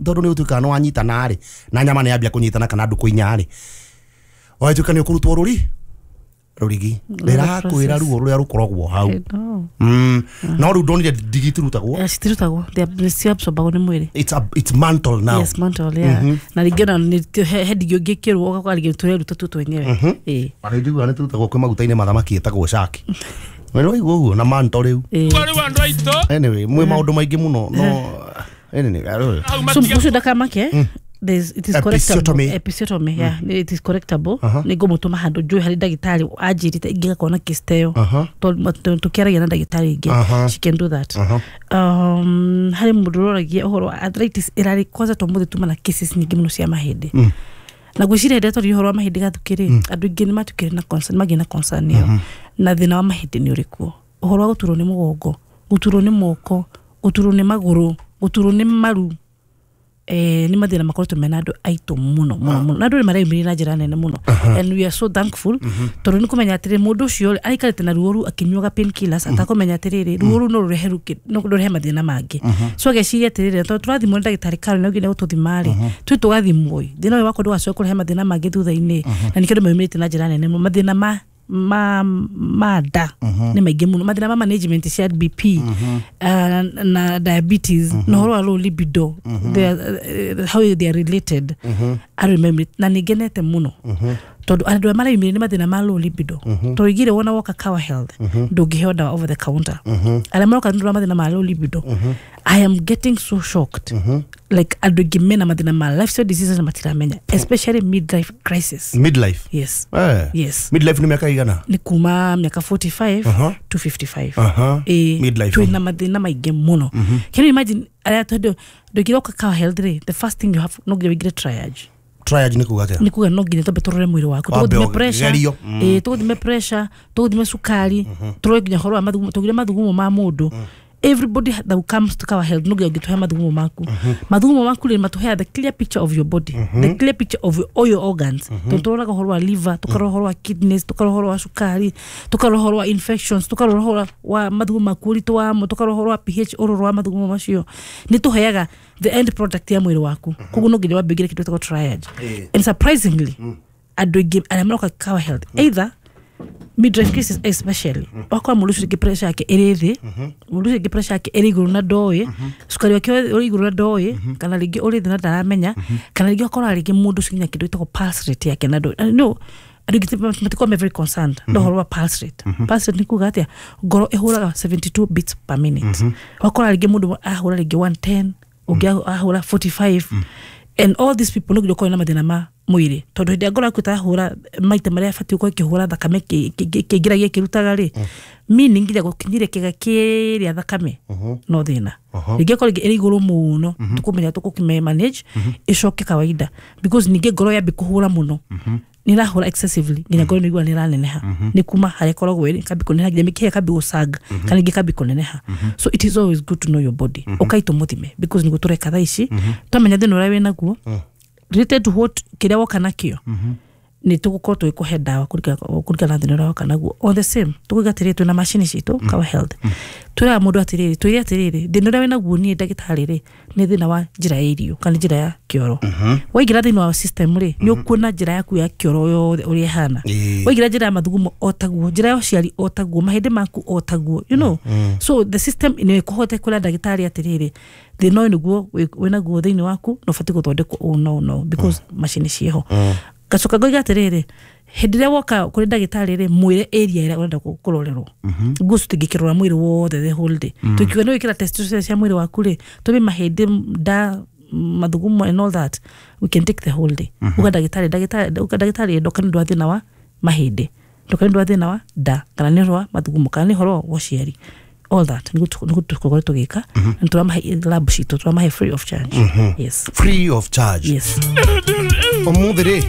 Tondũ nĩ ũtuĩkaga nĩ wanyitana rĩ, na nyama nĩ yambia kũnyitana kana ndukũ inya rĩ, watuĩka nĩ ũkũrutwo rũri rũrigi rĩrakwĩra ruo rũrĩa rũkoragwo hau. I know. No rĩu ndonire ndigi itirutagwo. Citirutagwo, ciabsorbagwo nĩ mwĩrĩ. It's mantle now. Yes, mantle, yeah. Na rĩngĩ ona he ndigi ũngĩkĩrwo ũgakora rĩngĩ tũreruta tu twenyewe. Ĩĩ. Arä njiguaga nä turutagwo kwä maguta-inä ma thamaki ĩtagwo shaki. We nĩ waigua ũguo na manto rĩu. Ĩĩ. Rĩu andũ aitũ Anyway, mwĩ maũndũ maingĩ mũno, no anyway, hau So matiga ũcio ndakamake, it is correctable. Episiotomy. Episiotomy, yeah. It is correctable. Nĩ ngũmũtũma handũ njũĩ harĩ ndagĩtarĩ anjĩrĩte ingĩgakorwo na case ta ĩyo. Tondũ tũkĩaragia na ndagĩtarĩ ingĩ, she can do that. Harĩ mũndũ ũroragia ũhoro wa arthritis ĩrarĩ kwanza tũmũthĩ tuma na cases nyingĩ mũno cia mahĩndĩ, na ngwĩciria hĩndĩ ĩrĩa twaririe ũhoro wa mahĩndĩ gathukĩ rĩ, andũ aingĩ nĩ matukire na concern, magĩe na concern ĩyo, na thĩna wa mahĩndĩ nĩ ũrĩkuo, ũhoro wa gũturwo nĩ mũgongo, gũturwo nĩ moko, gũturwo nĩ magũrũ, gũturwo nĩ maru, nĩ mathĩna makoretwo mena andũ aitũ mũno mũno mũno, na andũ nĩ mareyumĩria na njĩra nene mũno, and we are so thankful, tondũ nĩ kũmenya atĩrĩ, mũndũ ũcio rĩ, aikarĩte na ruo rũu akĩnyuaga painkillers atakũmenya atĩrĩrĩ, ruo rũu no rũrehe no rũrehe mathĩna mangĩ. So ageciria atĩrĩrĩ, tondũ tũrathimwo nĩ ndagĩtarĩ Karen no nginya gũtũthima rĩ, twĩ tũgathimwo ĩ, thĩna ũyũ wakwa ndũgacoke kũrehe mathĩna mangĩ thutha-inĩ. Na nĩkĩo andũ meyumĩrĩte na njĩra nene mũno. Mathĩna ma nda nĩ maingĩ mũno, mathĩna ma management cia BP na diabetes na ũhoro wa low libido, they are, how they are related. Andũ nĩ na nĩ ngenete mũno tondũ andũ arĩa mareyumĩria nĩ mathĩna ma low libido, tondũ igire wona woka Kawa Health ndũngĩheo ndawa over the counter. Arĩa maroka nĩ ũndũ wa mathĩna ma low libido, I am getting so shocked, like andũ aingĩ mena mathĩna ma lifestyle diseases na matiramenya, especially midlife crisis. Midlife? Yes. Yes. Midlife nĩ mĩaka igana? Nĩ kuma mĩaka 45 to 55. Ĩĩ, Midlife. Twĩna mathĩna maingĩ mũno. Can you imagine arĩa tondũ ndũngĩroka Kawa Health rĩ, the first thing you have, no nginya wĩingĩre triage. Triage nĩ kuga atĩa? Nĩ kuga no nginya twambe tũrore mwĩrĩ waku, Wambe tũgũthime pressure, ũgerio. Ĩĩ, tũgũthime pressure, tũgũthime cukari, tũrore nginya ũhoro wa mathugumo, tũgire mathugumo ma mũndũ. Everybody that comes to Kawa Health no nginya ũngĩtũhe mathugumo maku. Mathugumo maku rĩ, matũheaga the clear picture of your body, the clear picture of all your organs, tondũ tũroraga ũhoro wa liver, tũkarora ũhoro wa kidneys, tũkarora ũhoro wa cukari, tũkarora ũhoro wa infections, tũkarora ũhoro wa mathugumo maku, ũritũ wamo, tũkarora ũhoro wa pH ũrũrũ wa mathugumo macio. Nĩ tũheaga the end product ya mwĩrĩ waku. Koguo no nginya wambe ũingĩre kĩndũ gĩtagwo triage. And surprisingly, andũ aingĩ arĩa maroka Kawa Health, either midlife cases especially, wakora mũndũ ũcio rĩngĩ pressure yake ĩrĩ thĩ, mũndũ ũcio rĩngĩ pressure yake ĩrĩ igũrũ na ndoĩ, cukari wake ũrĩ igũrũ na ndoĩ, kana rĩngĩ ũrĩ thĩ na ndaramenya, kana rĩngĩ wakora rĩngĩ mũndũ ũcio nginya kĩndũ gĩtagwo pulse rate yake na ndoĩ. No andũ aingĩ matikoragwo me very concerned na ũhoro wa pulse rate. Pulse rate nĩ kuga atĩa? Ngoro ĩhũraga 72 beats per minute. Wakora rĩngĩ mũndũ ahũra rĩngĩ 110, ũngĩ ahũra 45, and all these people no nginya ũkorwo na mathĩna ma mwĩrĩ, tondũ hĩndĩ ĩrĩa ngoro yaku ĩtarahũra maita marĩa ĩbatiĩ gũkorwo ĩkĩhũra, thakame kĩingĩragia ĩkĩrutaga rĩ, meaning nginya gũkinyĩria kĩga kĩrĩa thakame no thĩna. Rĩngĩ akorwo rĩngĩ ĩrĩ igũrũ mũno, tũkũmenya tũkũkĩme manage ĩcoke kawaida, because ningĩ ngoro yambĩ kũhũra mũno, nĩ ĩrahũra excessively nginya ngoro nĩ ĩigua nĩ ĩraneneha, nĩ kuma harĩa ĩkoragwo ĩrĩ ĩkambi kũneneha, nginya mĩkiha ĩkambi gũcanga kana ingĩ ĩkambi kũneneha. So it is always good to know your body. Ũkai tũmũthime, because nĩguo tũreka thaa ici, twamenya thĩna ũrĩa wĩnaguo related to what kĩrĩa woka nakĩo, nĩ tũgũkorwo tũgĩkũhe ndawa kũringana na thĩna ũrĩa woka naguo. On the same, tũkauga atĩrĩrĩ, twĩna macini citũ Kawa Health, twĩraga mũndũ atĩrĩrĩ, twĩre atĩrĩrĩ, thĩna ũrĩa wĩnaguo niĩ ndagĩtarĩ rĩ, nĩ thĩna wa njĩra ya irio kana njĩra ya kĩoro. Waingĩra thĩinĩ wa system rĩ, nĩ ũkuona njĩra yaku ya kĩoro yothe ũrĩa ĩhana. Waingĩra njĩra ya mathugumo o taguo, njĩra ya ũciari o taguo, mahĩndĩ maku o taguo. So the system nĩ ĩkũhote kwĩra ndagĩtarĩ atĩrĩrĩ, thĩna ũyũ nĩguo wĩnaguo thĩinĩ waku na ũbatiĩ gũthondekwo ũũ na ũũ na ũũ, because macini ciĩho. Ngacoka ngoiga atĩrĩrĩ, hĩndĩ ĩrĩa woka kũrĩ ndagĩtarĩ rĩ, mwĩre area ĩrĩa ũrenda kũrorerwo guo tũtingĩkĩrora mwĩrĩ wothe the whole day. Tũkiuga nĩ wĩkĩra test ciothe cia mwĩrĩ waku rĩ, tũme mahĩndĩ, nda, mathugumo and all that, we can take the whole day. Uga ndagĩtarĩ, ndoka nĩ ũndũ wa thĩna wa mahĩndĩ, ndoka nĩ ũndũ wa thĩna wa nda, kana nĩ ũhoro wa mathugumo, kana nĩ ũhoro wa ũciari, all that nĩguo tũkorwo tũgĩka, na tũramahe lab citũ, tũramahe free of charge, yes. Free of charge? Yes. Ũmũthĩ rĩ?